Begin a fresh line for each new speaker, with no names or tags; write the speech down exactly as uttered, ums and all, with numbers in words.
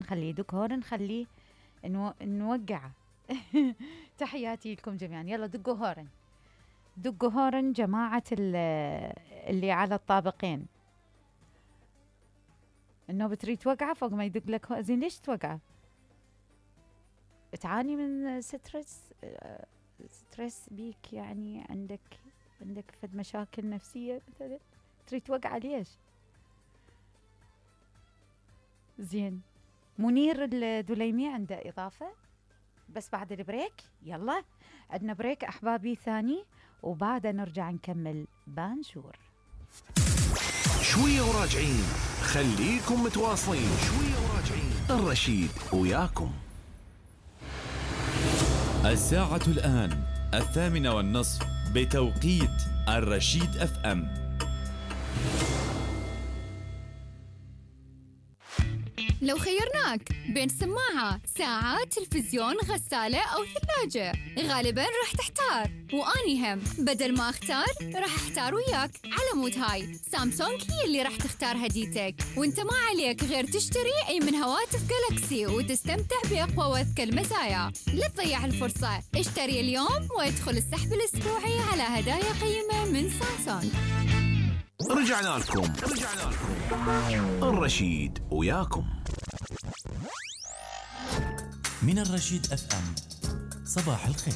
نخليه دكور، نخليه نو... نوقعه. تحياتي لكم جميعا. يلا دقوا هورن، دقوا هورن جماعة اللي على الطابقين. النوبة تريد توقعه فوق ما يدق لك هو. زين ليش توقعه؟ تعاني من ستريس ستريس بيك يعني، عندك عندك فد مشاكل نفسية مثلا تريد توقعه ليش؟ زين منير الدليمي عنده إضافة بس بعد البريك. يلا عندنا بريك أحبابي ثاني، وبعد نرجع نكمل بانجور.
شوية وراجعين، خليكم متواصلين. شوية وراجعين، الرشيد وياكم.
الساعة الآن الثامنة والنصف بتوقيت الرشيد اف ام.
لو خيرناك بين سماعة، ساعة، تلفزيون، غسالة أو ثلاجة، غالباً راح تحتار، وأني هم بدل ما أختار راح أحتار وياك. على مود هاي سامسونج هي اللي راح تختار هديتك، وانت ما عليك غير تشتري أي من هواتف جالكسي وتستمتع بأقوى وأذكى المزايا. لا تضيع الفرصة، اشتري اليوم وادخل السحب الأسبوعي على هدايا قيمة من سامسونج.
رجعنا لكم رجعنا لكم الرشيد وياكم.
من الرشيد اف ام، صباح الخير.